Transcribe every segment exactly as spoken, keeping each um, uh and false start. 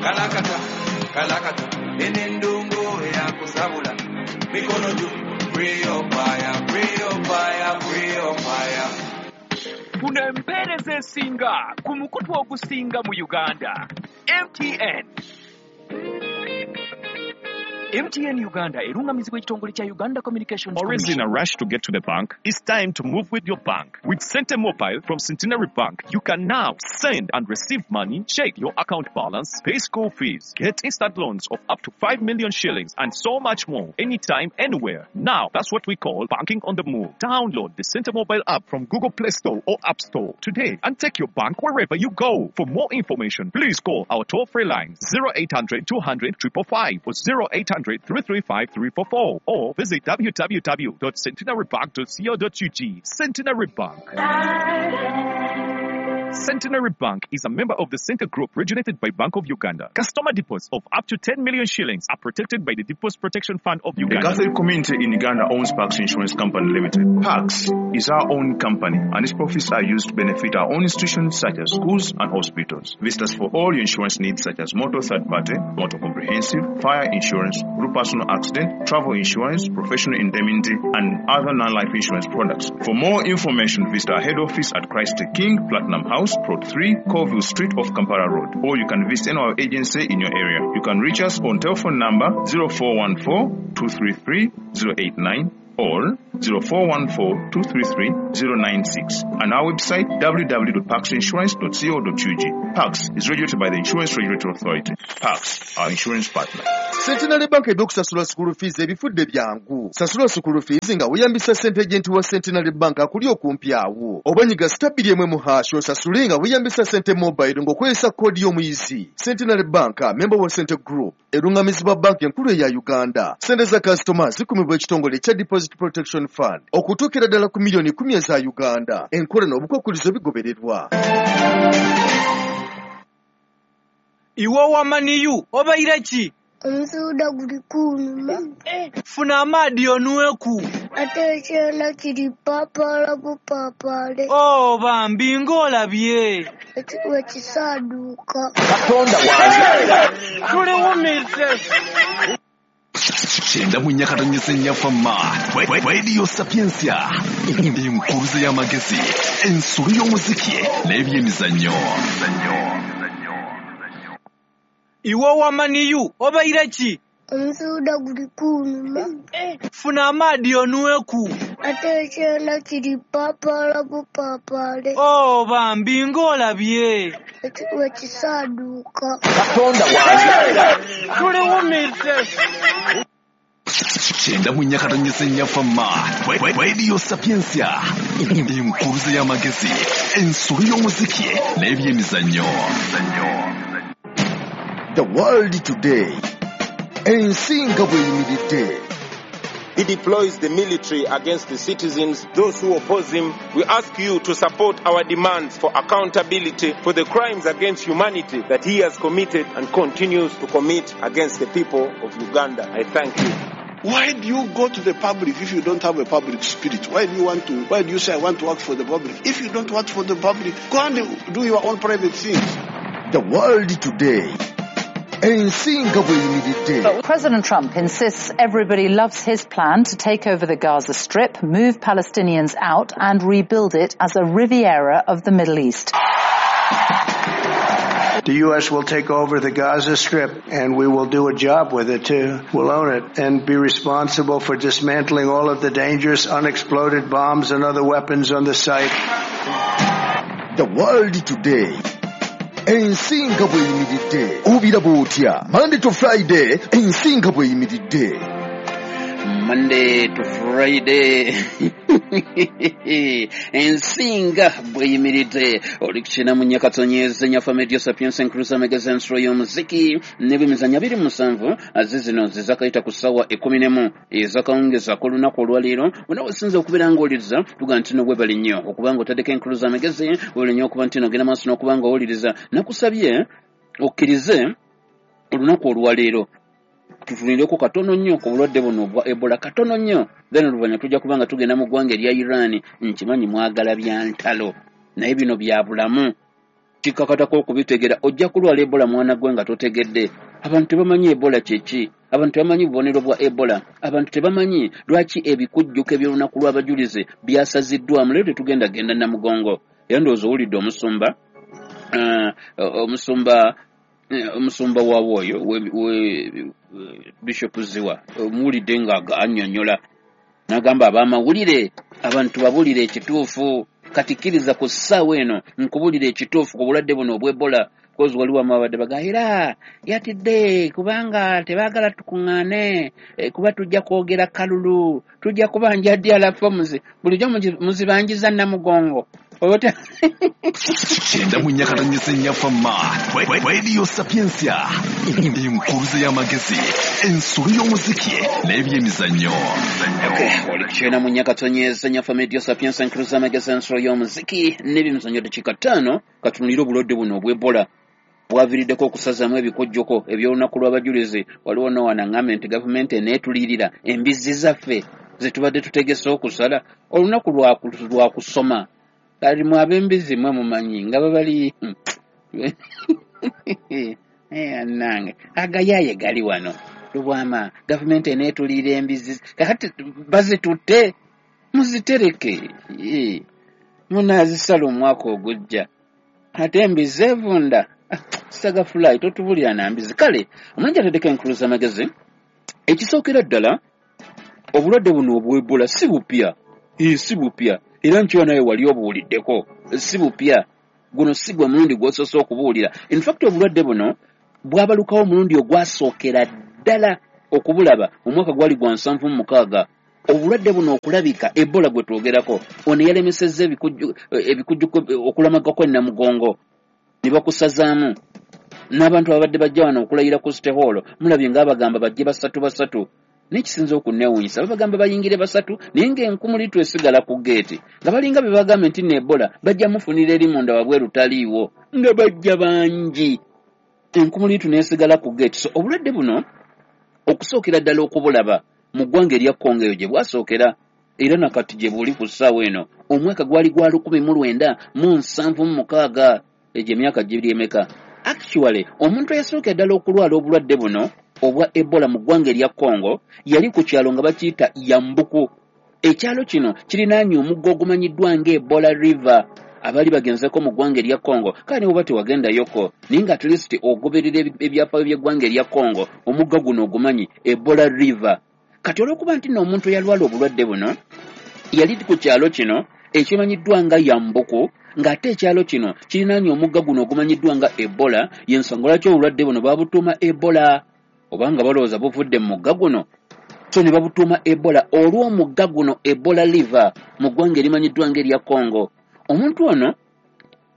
Kalakata, kalakata, enendongo ya kusabula. Mikono juu, free your fire, free your fire, free your fire. Kuno empeereza esinga ku mukutu ogusinga mu Uganda. M T N. M T N Uganda erungamizibwa ekitongole kya Uganda Communications Always in Commission. a rush to get to the bank? It's time to move with your bank. With Sente Mobile from Centenary Bank, you can now send and receive money, check your account balance, pay school fees, get instant loans of up to five million shillings, and so much more, anytime, anywhere. Now, that's what we call banking on the move. Download the Sente Mobile app from Google Play Store or App Store today and take your bank wherever you go. For more information, please call our toll-free lines zero eight hundred two hundred triple five or zero eight hundred three three five three four four or visit w w w dot centenary bank dot co dot u g. Centenary Bank. Centenary Bank is a member of the Center Group regulated by Bank of Uganda. Customer deposits of up to ten million shillings are protected by the Deposit Protection Fund of The Uganda. Catholic community in Uganda owns Pax Insurance Company Limited. Pax is our own company and its profits are used to benefit our own institutions such as schools and hospitals. Visit us for all your insurance needs such as motor third party, motor comprehensive, fire insurance, group personal accident, travel insurance, professional indemnity, and other non-life insurance products. For more information, visit our head office at Christ the King, Platinum House, Plot three, Colville Street off Kampala Road, or you can visit any of our agency in your area. You can reach us on telephone number zero four one four, two three three, zero eight nine or zero four one four, two three three, zero nine six and our website w w w dot pax insurance dot co dot u g. Pax is regulated by the Insurance Regulatory Authority. Pax, our insurance partner. Centenary Bank ebyokusasula school fees ebifudde byangu. Sasula school fees nga weeyambisa ssente agent wa Centenary Bank akuli okumpi awo. Oba nyiga star bbiri emu mu hash osasule nga weeyambisa ssente mobile ng'okozesa koodi y'omuyizi. Centenary Bank, member wa Center Group, erungamizibwa banki enkulu eya Uganda. Ssente za customer zikumibwa ekitongole ekya Deposit Protection Fund okutuukira ddala ku miliyoni kkumi eza Uganda. Enkola n'obukwakkulizo bigobererwa. Iwe wamaniyu obaire ki? Omusuuda guli kunuma. Funa amaadi onweku. Ate ekyana kiri paapaala bupaapaale. Oh, bambi ng'olabye. Wekisaaduuka. Katonda wange. Tuliwumize. Kyenda mu nnya katonyeze nnya fama. Radio Sapientia. Enkuruze y'amagezi, ensolo y'omuziki n'ebyemizannyo. Iwe wamaniyu obaire ki? Omusuuda guli kunuma. Funa amaadi onweku. Ate ekyana kiri paapaala bupaapaale. Oh, bambi ng'olabye. Wekisaaduuka. Katonda wange. Tuliwumize. Kyenda mu nnya katonyeze nnya fama. Radio Sapientia. Enkuruze y'amagezi, ensolo y'omuziki n'ebyemizannyo. The World Today. Ensi nga bw'eyimiridde. He deploys the military against the citizens, those who oppose him. We ask you to support our demands for accountability for the crimes against humanity that he has committed and continues to commit against the people of Uganda. I thank you. Why do you go to the public if you don't have a public spirit? Why do you want to, why do you say I want to work for the public? If you don't work for the public, go and do your own private things. The World Today. Ensi nga bw'eyimiridde. President Trump insists everybody loves his plan to take over the Gaza Strip, move Palestinians out and rebuild it as a Riviera of the Middle East. The U S will take over the Gaza Strip, and we will do a job with it, too. We'll own it and be responsible for dismantling all of the dangerous unexploded bombs and other weapons on the site. The World Today. Ensi nga bw'eyimiridde. Obiraba otya? Monday to Friday, ensi nga bw'eyimiridde. Monday to Friday. Ensinga bweyimiridde oli kukina mu nyakatonyeze nyafa media sapiens enkruza magazine ensolo y'omuziki n'ebyemizannyo abiri mu musanvu aze zino zizakayita ku ssaawa ekkumi n'emu ezakawungeza k'olunaku olwaleero wonna wesinza okubeera ng'owuliriza tuga nti no webale nnyo okuba nga otaddeko enkruza amagezi webale nnyo okuba nti no ogenda maaso n'okuba nga owuliriza. Nakusabye okkirize olunaku olwaleero tutunulireko katono nnyo ku bulwadde buno obwa Ebola katono nnyo, then oluvannyuma tujja kuba nga tugenda mu ggwanga erya Iran. Nkimanyi mwagala bya ntalo naye bino bya bulamu. Kikakatako okubitegera. Ojja kulwala Ebola mwana gwe nga totegedde. Abantu tebamanyi Ebola kyeki, abantu tebamanyi bubonero bwa Ebola, abantu tebamanyi lwaki ebikujjuko eby'olunaku lw'abajulizi byasaziddwamu. Leero tetugenda genda Namugongo, era ndowooza owulidde omusumba uh, omusumba omusumba waawe oyo Bishop Ziwa, omuwulidde nga annyonnyola n'agamba ab'amawulire abantu babulire ekituufu. Kati kkiriza ku ssaawa eno nkubulire ekituufu ku bulwadde buno obw'Ebola, kozi waliwo amabadde baga era yatidde kubanga tebaagala tukuŋŋaane, kuba tujja kwogera kalulu, tujja kubanja D R forms, bulijjo muzibanjiza Namugongo. Kyenda mu nnyakatanyisa ennyafama Radio Sapientia, enkuruze y'amagezi, ensolo y'omuziki n'ebyemizannyo. Oli kyenda mu nnyakatonyeza ennyafama Radio Sapientia, enkuruze y'amagezi, ensolo y'omuziki n'ebyemizannyo. Dakiika ttaano katunulire obulwadde buno obw'Ebola bwaviiriddeko okusazaamu ebikujjuko eby'olunaku lw'abajulizi. Waliwo nowana ŋŋambye nti gavumenti eneetulirira embizzi zaffe ze tubadde tutegese okusala olunaku lwa kusoma. Kati mwe ab'embizzi mwe mumanyi nga babali nange agayaaye gali wano Lubwama, gavumenti eneetulirira embizzi kakati bazitutte muzitereke, munaazisala omwaka ogujja. Ate embizzi evunda saga fly totubulira na mbizi. Kale omulungi ateddeko enkulu z'amagezi. Ekisookera ddala, obulwadde buno obw'Ebola si bupya, si bupya, era nkyo naye wali obuwuliddeko, si bupya. Guno si gwe mulundi gw'osoose okubuwulira. In fact obulwadde buno bwabalukawo omulundi ogwasookera ddala okubulaba omwaka gwali gwa nsanvu mu mukaaga. Obulwadde buno okulabika, Ebola gwe twogerako, ono yalemesezza ebikujjuko okulamagako Namugongo ne bakusazaamu n'abantu ababadde bajja wano okulayira ku City Hall. Mulabye ng'abagamba bajje basatu basatu, n'ekisinza okunneewuunyisa babagamba bayingire basatu, naye ng'enkumulitu esigala ku geeti, nga balinga be bagambye nti nno Ebola bajja mufunira eri munda wabweru taliiwo, nga bajja bangi, enkumulitu n'esigala ku geeti. So obulwadde buno okusookera ddala okubulaba mu ggwanga erya Congo eyo gye bwasookera, era nakati gye buli ku ssaawa eno. Omwaka gwali gwa lukumi mu lwenda mu nsanvu mu mukaaga, egyo emyaka giri emeka? Actually omuntu eyasookera ddala okulwala obulwadde buno obwa Ebola mu ggwanga erya Congo yali ku kyalo nga bakiyita Yambuku. Ekyalo kino kirinaanye omugga ogumanyiddwa nga Ebola River. Abali bagenzeko mu ggwanga erya Congo, kale ne bw'oba tewagendayoko, naye nga at least ogoberera ebyafaayo by'eggwanga erya Congo, omugga guno ogumanyi, Ebola River. Kati olw'okuba nti nno omuntu eyalwala obulwadde buno yali ku kyalo kino ekimanyiddwa nga Yambuku, ng'ate ekyalo kino kirinaanye omugga guno ogumanyiddwa nga Ebola, y'ensonga lwaki obulwadde buno babutuuma Ebola, obanga balowooza buvudde mu mugga guno. So ne babutuuma Ebola olw'omugga guno Ebola River mu ggwanga erimanyiddwa ng'erya Congo. Omuntu ono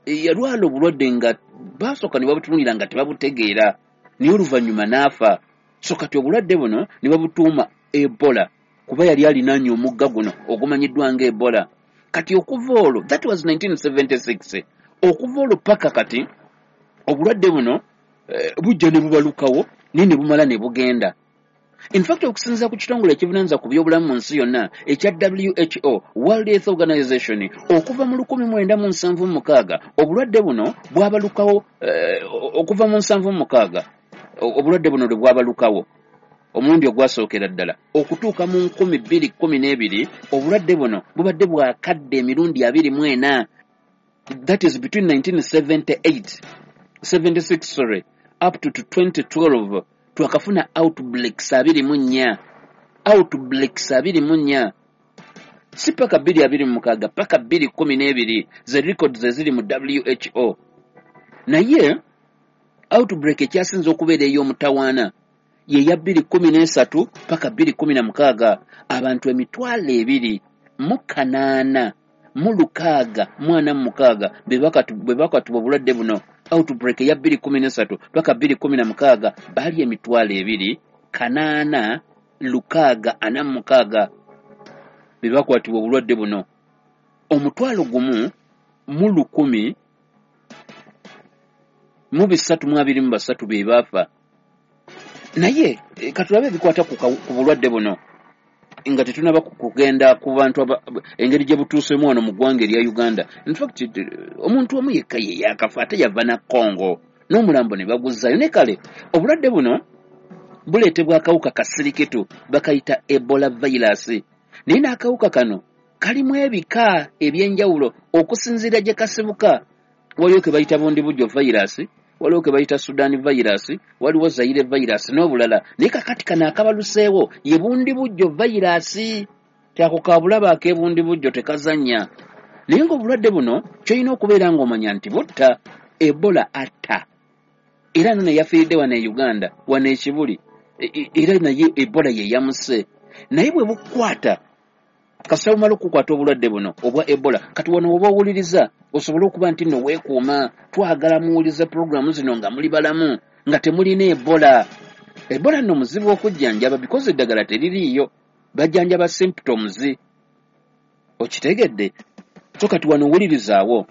yalwala obulwadde nga baasooka ne babutunuulira nga tebabutegeera, naye oluvannyuma n'afa. So kati obulwadde buno ne babutuuma Ebola kuba yali alinaanye omugga guno ogumanyiddwa nga Ebola. Kati okuva olwo, that was nineteen seventy-six, okuva olwo paka kati obulwadde buno eh, bujja ne bubalukawo naye ne bumala ne bugenda. In fact okusinziira ku kitongole ekivunaanyizibwa ku byobulamu mu nsi yonna ekya W H O, World Health Organization, okuva mu lukumi mwenda mu nsanvu mu mukaaga obulwadde buno bwabalukawo, eh, okuva mu nsanvu mu mukaaga obulwadde buno lwe bwabalukawo omulundi ogwasookera ddala okutuuka mu nkumi bbiri kkumi n'ebiri obulwadde buno bubadde bwakadde emirundi abiri mu ena. That is between nineteen seventy-eight, seventy-six sorry, up to twenty twelve twakafuna outbreaks abiri mu nnya, outbreaks abiri mu nnya, si paka bbiri abiri mu mukaaga, paka bbiri kkumi n'ebiri ze records eziri mu W H O. Naye outbreak ekyasinze okubeera ey'omutawaana ye ya bbiri kkumi n'esatu paka bbiri kkumi na mukaaga, abantu emitwalo ebiri mu kanaana mu lukaaga mu ana mu mukaaga be bakatubwa obulwadde buno. Outbreak ya bbiri kkumi n'esatu paka bbiri kkumi na mukaaga baali emitwalo ebiri kanaana lukaaga ana mu mukaaga be bakwatibwa obulwadde buno. Omutwalo gumu mu lukumi mu bisatu mu abiri mu basatu be baafa. Naye katulabe ebikwata ku bulwadde buno. Nga tetunaba kugenda ku bantu engeri gye butuuseemu wano mu ggwanga erya Uganda. In fact, omuntu omu yekka ye yakafa, ate yava na Congo, n'omulambo ne baguzaayo. Ne kale obulwadde buno buleetebwa akawuka kasirikitu bakayita Ebola virus. Naye n'akawuka kano kalimu ebika ebyenjawulo okusinziira gye kasibuka. Waliwo ke bayita Bundibugyo virus, waliwo ke bayita Sudan virus, waliwo Zaire virus n'obulala. Naye kakati kano akabaluseewo ye Bundibugyo virus. Tyako kabulaba ak'ebundibugyo tekazannya. Naye ng'obulwadde buno ky'olina okubeera ng'omanya nti butta. Ebola atta. Era nno yafiiridde wano e Uganda, wano e Kibuli, era naye Ebola ye yamuse. Naye bwe bukukwata, kasita bumala okukwata obulwadde buno obwa Ebola, kati wano oba owuliriza osobole okuba nti nno weekuuma. Twagala muwulize puroguramu zino nga muli balamu, nga temulina Ebola. Ebola nno muzibu okujjanjaba because eddagala teririiyo, bajjanjaba symptoms. Okitegedde? So kati wano owulirizaawo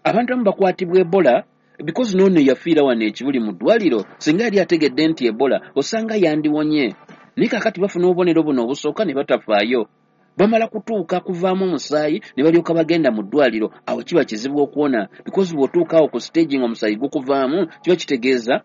abantu abamu bakwatibwa Ebola because n'ono yafiira wano e Kibuli mu ddwaliro, singa yali ategedde nti Ebola osanga yandiwonye. Naye kaakati bafuna obubonero buno obusooka ne batafaayo, bamala kutuuka kuvaamu omusaayi ne balyoka bagenda mu ddwaliro. Awo kiba kizibu okuwona because bw'otuuka awo ku stage ng'omusaayi gukuvaamu, kiba kitegeeza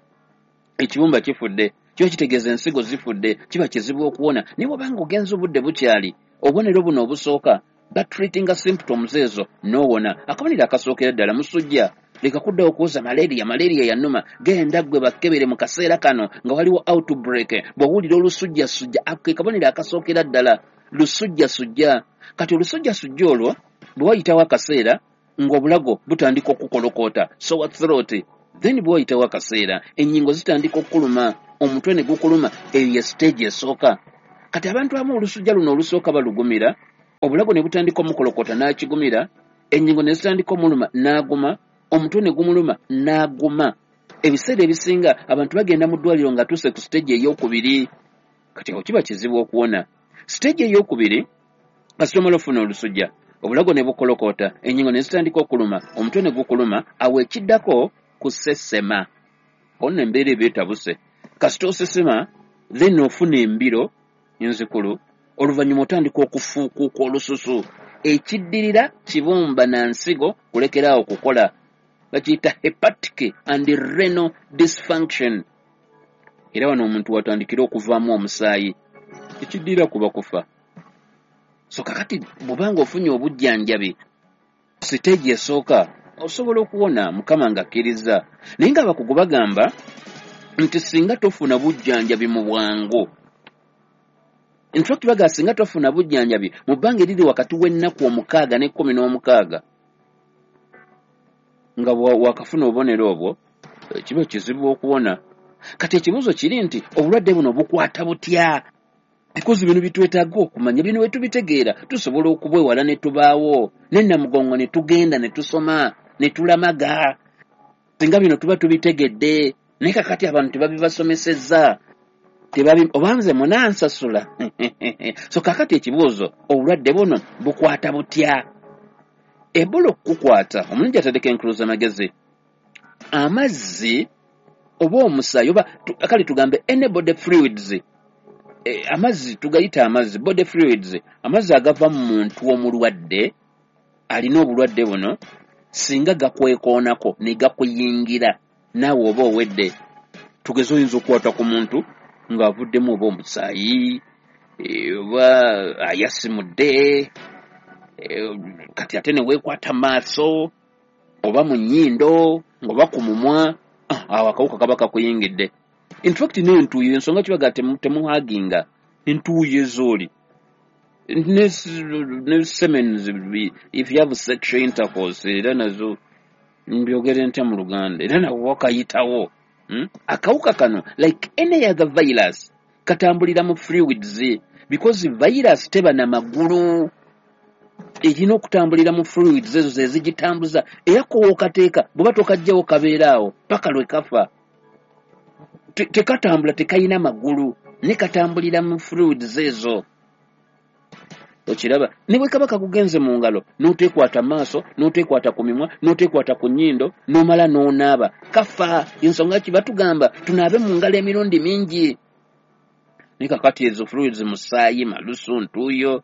ekibumba kifudde, kiba kitegeeza ensigo zifudde, kiba kizibu okuwona. Naye bw'obanga ogenza obudde bukyali, obubonero buno obusooka batreatinga symptoms ezo n'owona. Akabonero akasookera ddala musujja. Leka kuddawo okuwoza malaria, malaria yannuma. Genda ggwe bakkebere mu kaseera kano nga waliwo outbreak. Bw'owulira olusujjasujja, ke kabonero akasookera ddala, lusujjasujja. Kati olusujjasujja olwo bwe wayitawo akaseera ng'obulago butandika okukolokoota, sore throat. Then bwe wayitawo akaseera ennyingo zitandika okukuluma, omutwe ne gukuluma. Eyo ye stage esooka. Kati abantu abamu olusujja luno olusooka balugumira, obulago ne butandika omukolokota n'akigumira, ennyingo ne zitandika omuluma n'aguma, omutwe ne gumuluma n'aguma. Ebiseera ebisinga abantu bagenda mu ddwaliro nga tuuse ku stage ey'okubiri. Kati awo kiba kizibu okuwona. Stage ey'okubiri, kasita omala ofuna olusujja, obulago ne bukolokota, ennyingo ne zitandika okuluma, omutwe ne gukuluma, awo ekiddako kusesema. Ono embeera eba etabuse. Kasita osesema, then ofuna embiro enzikulu, oluvannyuma otandika okufuukuuka olususu. Ekiddirira kibumba na nsigo kulekeraawo kukola, bakiyita hepatic and renal dysfunction. Era wano omuntu watandikira okuvaamu omusaayi, ekiddirira kuba kufa. So kakati bw'obanga ofunye obujjanjabi siteegi esooka, osobola okuwona Mukama ng'akkiriza. Naye ng'abakugu bagamba nti singa tofuna bujjanjabi mu bwangu, in fact bagamba singa tofuna bujjanjabi mu bbanga eriri wakati w'ennaku omukaaga n'ekkumi n'omukaaga nga wakafuna obubonero obwo, kiba kizibu okuwona. Kati ekibuuzo kiri nti obulwadde buno bukwata butya? Because bino bitwetaaga okumanya, bino bwe tubitegeera tusobola okubwewala ne tubaawo ne Namugongo ne tugenda ne tusoma ne tulamaga. Singa bino tuba tubitegedde. Naye kakati abantu tebabibasomesezza, tebabi oba nze munansasula. So kakati ekibuuzo, obulwadde buno bukwata butya? Ebola okukukwata, omulungi atadeko enkuluza amagezi, amazzi oba omusaayi oba kale tugambe any body fluids, e, amazzi tugayita amazzi, body fluids, amazzi agava mu muntu omulwadde alina obulwadde buno, singa gakwekoonako ne gakuyingira naawe oba owedde. Tugeze oyinza okukwata ku muntu ng'avuddemu oba omusaayi oba ayasimudde, kati ate ne weekwata maaso oba mu nnyindo oba ku mumwa, awo akawuka kaba kakuyingidde. In fact n'entuuyo, ensonga kibaga temuhaginga entuuyo ezooli ne semen, if you have sexual intercourse, era nazo mbyogere ntya mu Luganda, era nabo wakayitawo. Hmm? Akawuka kano like any other virus katambulira mu fluids because virus teba na magulu, erina okutambulira mu fluids ezo ze zigitambuza. Era kowookateeka bw'oba tokajjawo kabeera awo paka lwe kafa. Tekatambula, tekayina magulu, ne katambulira mu fluids ezo. Okiraba? Ne bwe kaba kakugenze mu ngalo n'oteekwata maaso, n'oteekwata ku mimwa, n'oteekwata ku nnyindo, n'omala n'onaaba, kafa. Ensonga ki batugamba tunaabe mu ngalo emirundi mingi. Naye kakati ezo fluids musaayi, malusu, ntuuyo,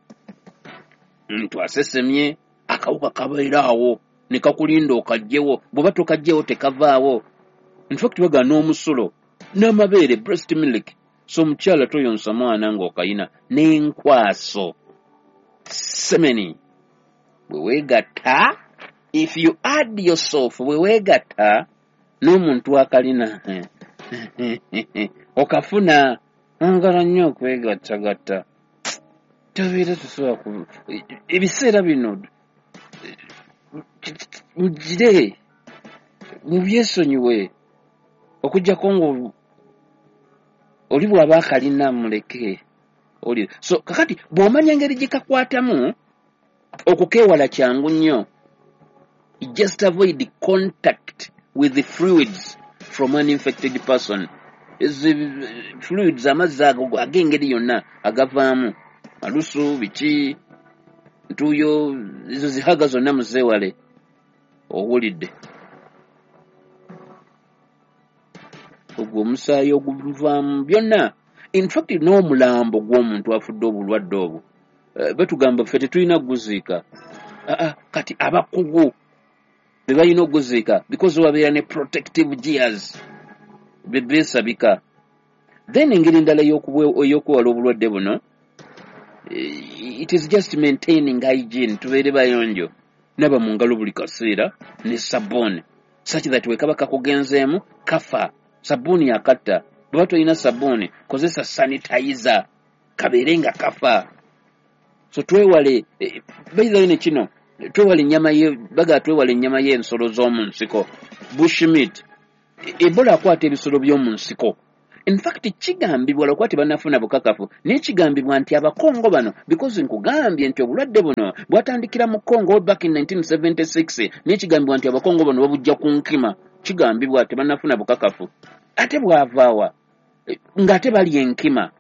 ntu asesemye, akawuka kabeera awo ne kakulinda okajjewo. Bw'oba tokajjewo tekavaawo. In fact baga n'omusulo n'amabeere, breast milk. So omukyala toyonsa mwana ng'okayina. N'enkwaso, semeni, bwe weegatta, if you add yourself, bwe weegatta n'omuntu akalina okafuna. Angala nnyo okwegattagatta, tobeera tosobola ku ebiseera bino mugire mubyesonyiwe, okuggyako nga oli bw'aba akalina muleke oli. So kakati bw'omanya engeri gye kakwatamu, okukeewala kyangu nnyo. Just avoid contact with the fluids from an infected person. Ezi fluids, amazzi ago ag'engeri yonna agavaamu malusu, biki, ntuuyo, ezo zihaga zonna muzeewale. Owulidde ogwo omusaayi oguvaamu byonna. In fact n'omulambo gw'omuntu afudde obulwadde obwo, batugamba ffe tetulina kuguziika. Aa, kati abakugu be balina okuguziika because wabeera ne protective gears be beesabika. Then engeri endala ey'okwewala obulwadde buno, it is just maintaining hygiene. Tubeere bayonjo, naba mu ngalo buli kaseera ne sabbuuni, such that we kaba kakugenzeemu kafa. Sabbuuni akatta. Bw'oba tolina sabbuuni, kozesa sanitizer, kabeere nga kafa. So twewale bayizayo ne kino, twewale ennyama ye, baga twewale ennyama y'ensolo z'omu nsiko, bush meat. Ebola akwata ebisolo by'omu nsiko. In fact kigambibwa, lwakuba tebannafuna bukakafu, naye kigambibwa nti Abakongo bano, because nkugambye nti obulwadde buno bwatandikira mu Congo back in nineteen seventy-six, naye kigambibwa nti Abakongo bano babujja ku nkima. Kigambibwa, tebannafuna bukakafu. Ate bwavaawa ng'ate balya enkima,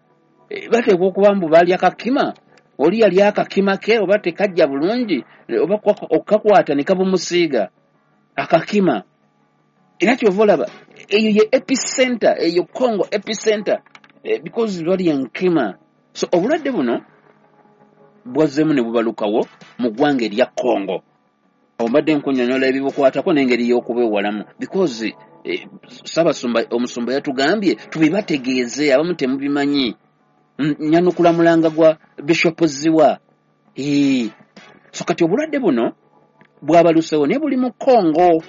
bateekwa okuba mbu balya kakima, oli yali akakima ke oba tekajja bulungi, oba okakwata ne kabumusiiga akakima. Era kyova olaba eyo ye epicenter, eyo Congo epicenter, because balya enkima. So obulwadde buno bwazzeemu ne bubalukawo mu ggwanga erya Congo. Obadde nkunnyonnyola ebibukwatako n'engeri y'okubwewalamu, because Ssaabasumba omusumba yatugambye tubibategeeze, abamu temubimanyi. Nyanukula mulanga gwa Bishop Ziwa. So kati obulwadde buno bwabalusewo naye buli mu Congo,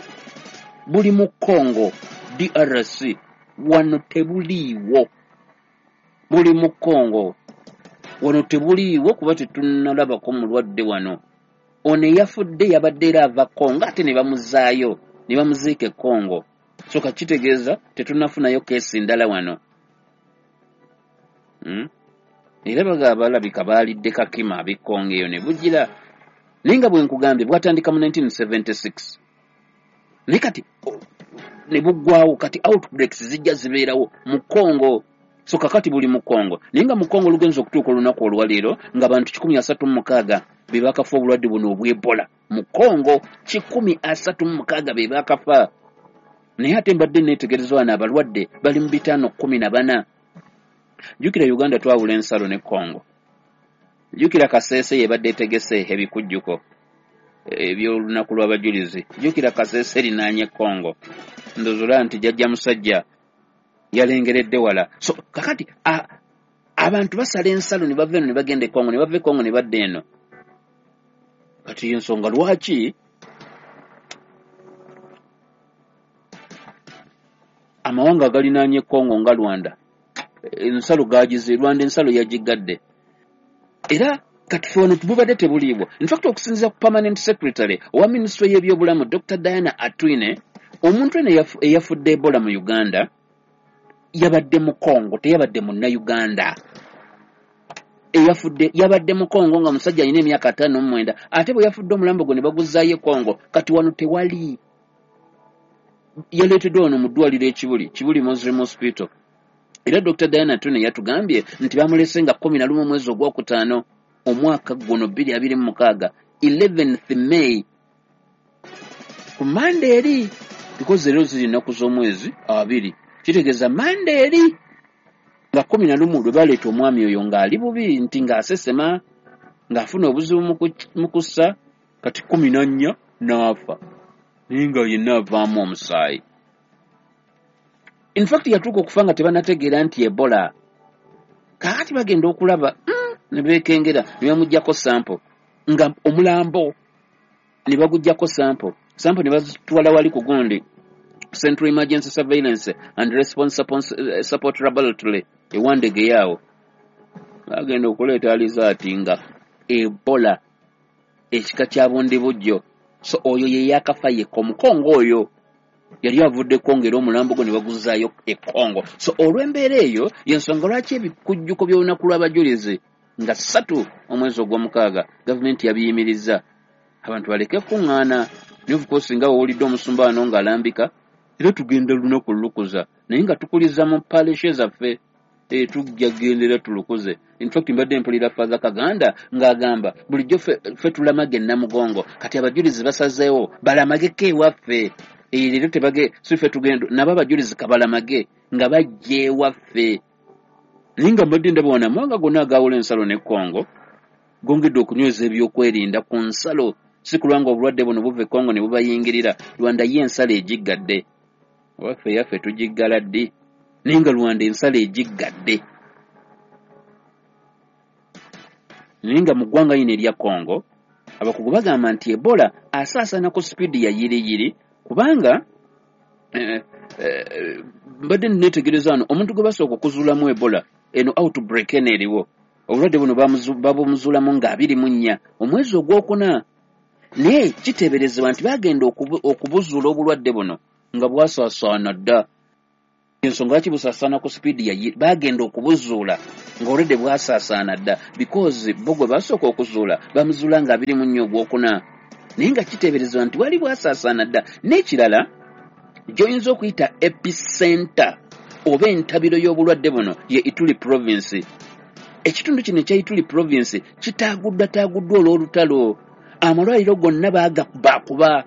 buli mu Congo D R C, wano tebuliiwo. Buli mu Congo wano tebuliiwo kuba tetunnalabako mulwadde wano. Ono eyafudde yabadde era ava Congo, ate ne bamuzaayo ne bamuziika e Congo. So kakitegeeza tetunnafunayo keesi ndala wano. Hmm? Era bagaba balabika baalidde kakima ab'e Congo eyo ne bugira. Naye nga bwe nkugambye bwatandika mu nineteen seventy-six. Naye kati ne buggwawo, kati outbreaks zijja zibeerawo mu Congo. So kakati buli mu Congo. Naye nga mu Congo lugenza okutuuka olunaku olwaleero nga bantu kikumi asatu mu mukaaga be bakafa obulwadde buno obw'Ebola. Mu Congo kikumi asatu mu mukaaga be bakafa. Naye ate mbadde neetegereza wano abalwadde bali mu bitaano kkumi na bana. Jjukira Uganda twawula ensalo ne Congo. Jjukira Kasese yebadde etegese ebikujjuko eby'olunaku lw'abajulizi. Jjukira Kasese erinaanye Congo. Ndowooza nti jjajja musajja yalengeredde wala. So kakati abantu basala ensalo ne bava eno ne bagenda e Congo, ne bava e Congo ne badda eno. Kati ensonga lwaki amawanga agalinaanye Congo nga Rwanda ensalo gagize, Rwanda ensalo yagigadde. Era kati ffe wano tububadde tebuliibwa. In fact okusinziira ku permanent secretary owa minisitule y'ebyobulamu Doctor Diana Atwine, omuntu eno eyafudde Ebola mu Uganda yabadde mu Congo, teyabadde munnayuganda. Eyafudde yabadde mu Congo nga musajja alina emyaka ataano mu mwenda, ate bwe yafudde omulambo gwe ne baguzaayo e Congo. Kati wano tewali. Yaleeteddwa wano mu ddwaliro e Kibuli, Kibuli Muslim Hospital. Era Doctor Diana Atwine yatugambye nti bamulese nga kkumi na lumu omwezi ogwokutaano omwaka guno bbiri abiri mu mukaaga, eleventh May, ku Mande eri, because leero ziri nnaku z'omwezi abiri, kitegeeza Mande eri Nga kkumi na lumu lwe baleeta omwami oyo ng'ali bubi nti ng'asesema, ng'afuna obuzibu mu kussa, kati kkumi na nnya n'afa, naye nga yenna avaamu omusaayi. In fact yatuuka okufa nga tebanategeera nti Ebola. Kaakati bagenda okulaba ne beekengera ne bamuggyako sample, nga omulambo ne baguggyako sample, sample ne bazitwala wali ku gundi Central Emergency Surveillance and Response Support Laboratory e Wandegeya awo. Bagenda okuleeta alizaati nga Ebola ekika kya bundibujjo. So oyo ye yakafa yekka, Omukongo oyo yali avudde Kongo era omulambo gwe ne baguzaayo e Kongo. So olw'embeera eyo y'ensonga lwaki ebikujjuko by'olunaku lw'abajulizi nga ssatu omwezi ogw'omukaaga gavumenti yabiyimirizza abantu baleke kuŋŋaana. Naye of course nga wowulidde omusumba wano ng'alambika, era tugenda lunaku lukuza, naye nga tukuliza mu parish zaffe, tujja gendera tulukuze. In fact mbadde mpulira Father Kaganda ng'agamba bulijjo ffe tulamage Namugongo, kati abajulizi basazeewo balamageko ewaffe. Leero tebage si ffe tugenda nabo abajulizi kabalamage nga bajja ewaffe. Naye nga mbadde ndaba wano amawanga gonna agaawula ensalo ne Kongo gongedde okunyweza ebyokwerinda ku nsalo, si kulwa nga obulwadde buno buva e Kongo ne bubayingirira. Rwanda ye ensalo egiggadde, waffe yaffe tugiggala ddi? Naye nga Rwanda ensalo egiggadde. Naye nga mu ggwanga lino erya Kongo abakugu bagamba nti Ebola asaasaana ku sipiidi ya yiriyiri, kubanga eh, eh, mbadde neetegereza wano omuntu gwe basooka okuzuulamu Ebola eno outbreak eno eriwo, obulwadde buno babumuzuulamu nga abiri mu nnya omwezi ogwokuna, naye kiteeberezebwa nti bagenda okubuzuula obulwadde buno nga bwasaasaana dda. Ensonga lwaki busaasaana ku sipiidi ya bagenda okubuzuula ng'olwedde bwasaasaana dda, because bo gwe basooka okuzuula bamuzuula nga abiri mu nnya ogwokuna, naye nga kiteeberezebwa nti bwali bwasaasaana dda. N'ekirala gy'oyinza okuyita epicenter oba entabiro y'obulwadde buno ye Ituri province. Ekitundu kino ekya Ituri province kitaaguddwataaguddwa olw'olutalo, amalwaliro gonna baagakubakuba,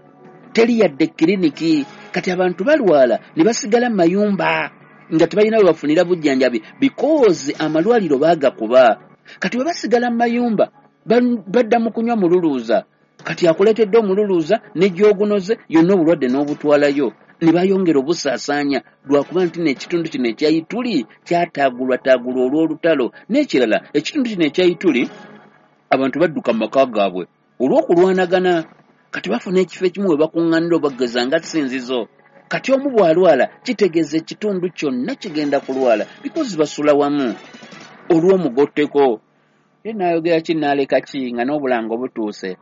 teri yadde kiriniki. Kati abantu balwala ne basigala mu mayumba nga tebalina we bafunira bujjanjabi because amalwaliro baagakuba. Kati bwe basigala mu mayumba badda mu kunywa mululuuza, kati akuleetedde omululuuza ne gy'ogunoze yonna obulwadde n'obutwalayo, ne bayongera obusaasaanya lwakuba nti n'ekitundu kino ekya Ituri kyataagulwataagulwa olw'olutalo. N'ekirala ekitundu kino ekya Ituri abantu badduka mu maka gaabwe olw'okulwanagana, kati bafuna ekifo ekimu we bakuŋŋaanira obageza nga ssinzizo. Kati omu bw'alwala kitegeeza ekitundu kyonna kigenda kulwala because basula wamu olw'omugotteko. Ye naayogera ki n'aleka ki nga n'obulango butuuse.